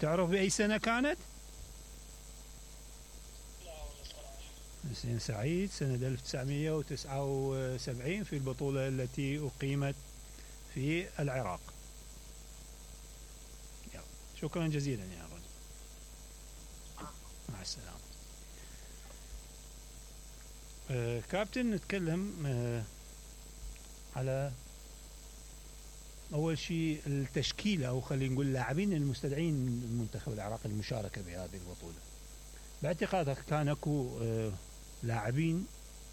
تعرف بأي سنة كانت؟ حسين سعيد سنة 1979 في البطولة التي أقيمت في العراق. شكرا جزيلا يا رجل، مع السلامة. كابتن، نتكلم على أول شيء التشكيلة، أو خلينا نقول لاعبين المستدعين من المنتخب العراقي للمشاركة بهذه البطولة. باعتقادك كان اكو لاعبين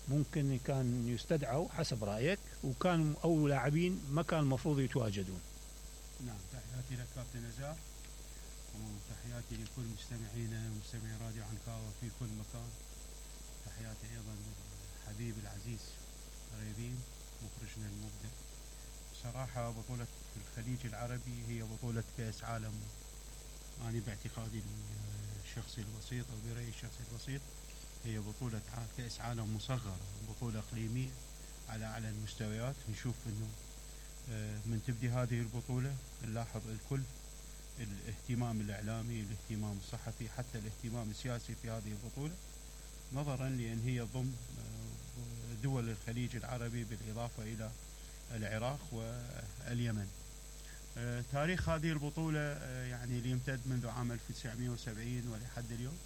ممكن كان يستدعوا حسب رأيك، وكان أو لاعبين ما كان المفروض يتواجدون؟ نعم، تحياتي لك كابتن نزار، وتحياتي لكل مستمعينا ومستمعي راديو عنكاوة في كل مكان. تحياتي أيضا للحبيب العزيز غريبين مخرجنا المبدع. صراحة بطولة الخليج العربي هي بطولة كأس عالم. أنا باعتقادي الشخصي البسيط أو برأيي الشخصي البسيط هي بطولة كأس عالم مصغرة، بطولة إقليمية على أعلى المستويات. نشوف أنه من تبدي هذه البطولة نلاحظ الكل الاهتمام الإعلامي، الاهتمام الصحفي، حتى الاهتمام السياسي في هذه البطولة، نظرا لأن هي ضمن دول الخليج العربي بالإضافة إلى العراق واليمن. تاريخ هذه البطولة يعني اللي يمتد منذ عام 1970 ولحد اليوم.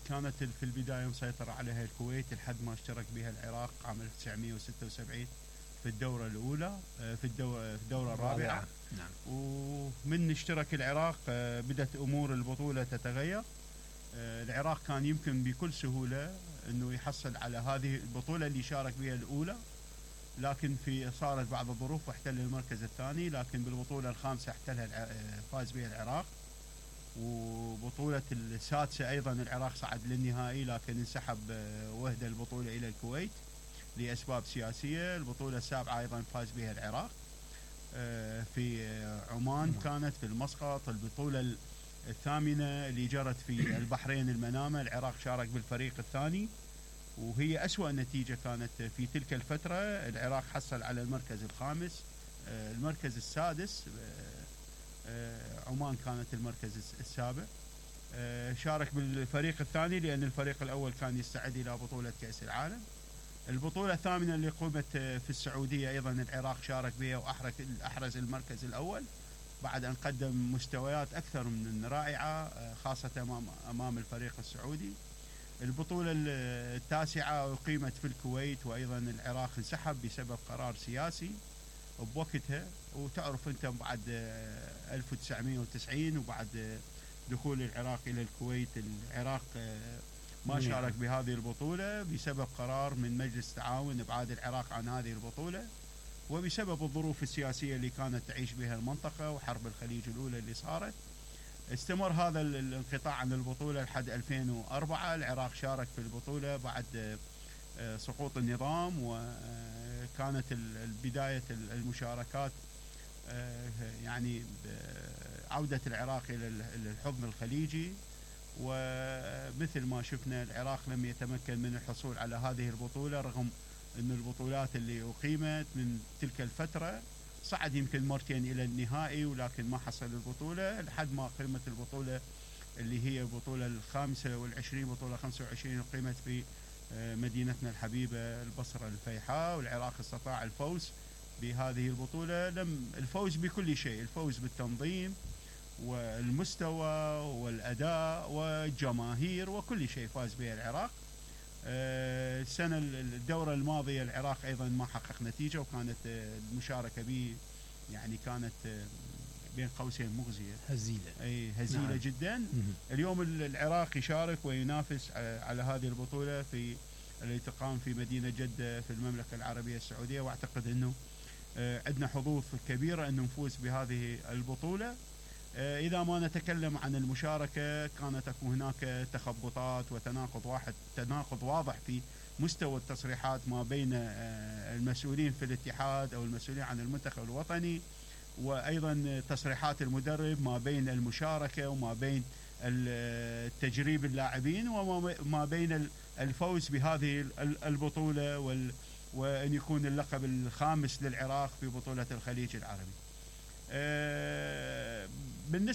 كانت في البداية مسيطرة عليها الكويت لحد ما اشترك بها العراق عام 1976 في الدورة الأولى، في الدورة الرابعة. نعم. ومن اشترك العراق بدأت أمور البطولة تتغير. العراق كان يمكن بكل سهولة أنه يحصل على هذه البطولة اللي شارك بها الأولى، لكن صارت بعض الظروف واحتل المركز الثاني. لكن بالبطولة الخامسة احتلها فاز بها العراق، وبطولة السادسة أيضا العراق صعد للنهائي، لكن انسحب وهدة البطولة إلى الكويت لأسباب سياسية. البطولة السابعة أيضا فاز بها العراق في عمان، كانت في المسقط. البطولة الثامنة اللي جرت في البحرين المنامة، العراق شارك بالفريق الثاني، وهي أسوأ نتيجة كانت في تلك الفترة. العراق حصل على المركز الخامس. المركز السادس عمان كانت المركز السابع. شارك بالفريق الثاني لأن الفريق الأول كان يستعد إلى بطولة كأس العالم. البطولة الثامنة اللي قامت في السعودية أيضا العراق شارك بها وأحرز المركز الأول بعد أن قدم مستويات أكثر من رائعة، خاصة أمام الفريق السعودي. البطولة التاسعة أقيمت في الكويت، وأيضا العراق انسحب بسبب قرار سياسي بوقتها. وتعرف أنت بعد 1990 وبعد دخول العراق إلى الكويت، العراق ما شارك بهذه البطولة بسبب قرار من مجلس التعاون إبعاد العراق عن هذه البطولة، وبسبب الظروف السياسية اللي كانت تعيش بها المنطقة وحرب الخليج الأولى اللي صارت. استمر هذا الانقطاع عن البطولة لحد 2004. العراق شارك في البطولة بعد سقوط النظام، وكانت بداية المشاركات يعني عودة العراق إلى الحضن الخليجي. ومثل ما شفنا العراق لم يتمكن من الحصول على هذه البطولة، رغم أن البطولات اللي أقيمت من تلك الفترة صعد يمكن مرتين إلى النهائي، ولكن ما حصل البطولة لحد ما قيمت البطولة اللي هي البطولة الخامسة والعشرين، بطولة 25 قيمت في مدينتنا الحبيبة البصرة الفيحاء. والعراق استطاع الفوز بهذه البطولة، لم الفوز بكل شيء، الفوز بالتنظيم والمستوى والأداء والجماهير وكل شيء فاز به العراق. الدورة الماضية العراق أيضا ما حقق نتيجة، وكانت المشاركة به يعني كانت بين قوسين مغزية، هزيلة نعم. جدا. اليوم العراق يشارك وينافس على هذه البطولة في اللي تقام في مدينة جدة في المملكة العربية السعودية، واعتقد أنه عندنا حظوظ كبيرة أن نفوز بهذه البطولة. إذا ما نتكلم عن المشاركة، كانت هناك تخبطات تناقض واضح في مستوى التصريحات ما بين المسؤولين في الاتحاد أو المسؤولين عن المنتخب الوطني، وأيضا تصريحات المدرب ما بين المشاركة وما بين تجريب اللاعبين وما بين الفوز بهذه البطولة وأن يكون اللقب الخامس للعراق في بطولة الخليج العربي. بالنسبة